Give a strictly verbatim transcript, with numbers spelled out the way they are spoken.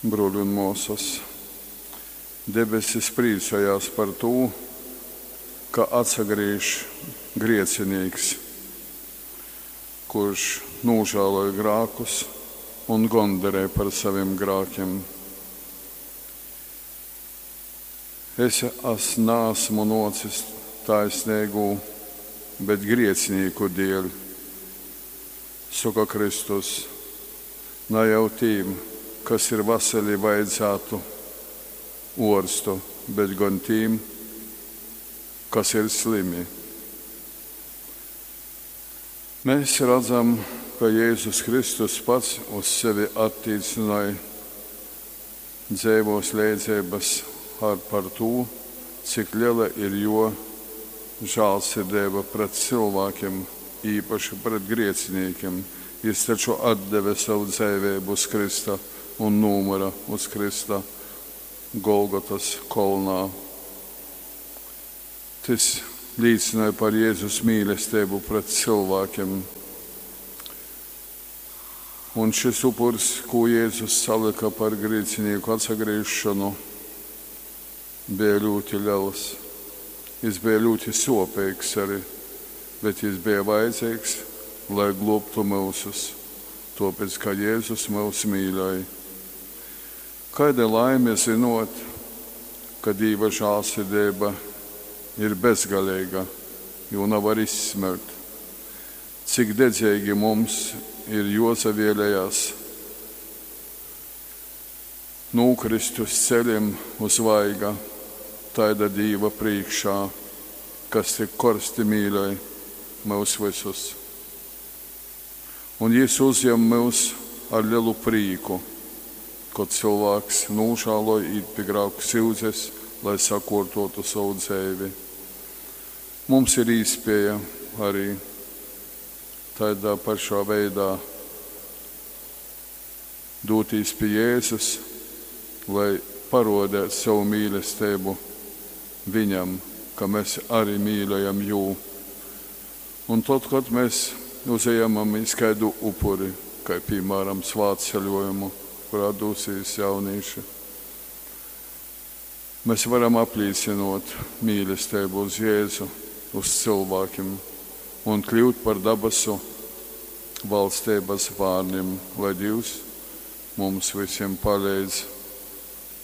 Bruoļi un muosys, debesis prīcojās par tū, ka atsagrīž griecinīks, kurš nūžāloj grākus un gondarej par savim grākim. Es as naasmu nuocis taisneigū, bet griecinīku dieļ, soka Kristus. Na jau tīm, kas ir vasali, vajadzātu uorstu, bet gon tīm, kas ir slimi. Mēs redzam, ka Jēzus Kristus pats uz sevi attīcynoj dzeivos leidzeibys ar par tū, cik lela ir juo žālsirdeiba pret cylvākim, īpaši pret griecinīkim. Jis taču atdeve sovu dzeiveibu uz krysta un nūmyra uz krysta Golgotys kolnā. Tys līcynoj par Jēzus mīlesteibu pret cylvākim. Un šis upurs, kū Jēzus salyka par griecinīku atsagrīzšonu, bija ļoti liels. Jis bija ļoti sopīgs arī, bet jis bija vajadzīgs, lai globtu mūsus, tāpēc, ka Jēzus mūs mīļoja. Kaida laime zinot, ka Dīva žālsirdība ir bezgalīga, jo nevar izsmelt. Cik dedzīgi mums ir jozavēlējās nūkrist uz ceļiem uz vaiga, taida Dīva priekšā, kas tik korsti mīļoj mūs visus. Un Jis uzņem mūs ar lielu prīku, kad cilvēks nožēloja īt pie grāku syudzes, lai sakārtotu savu dzīvi. Mums ir īspēja arī tādā pašā veidā doties pie Jēzus, lai parodētu savu mīlestību viņam, ka mēs arī mīļojam jū. Un tad, kad mēs uzejamamies kādu upuri, kā piemēram svātceļojumu, kurā dosīs jaunieši, mēs varam apliecinot mīlestību uz Jēzu, uz cilvēkiem un kļūt par dabasu valstības bērniem, lai Dievs mums visiem palīdz.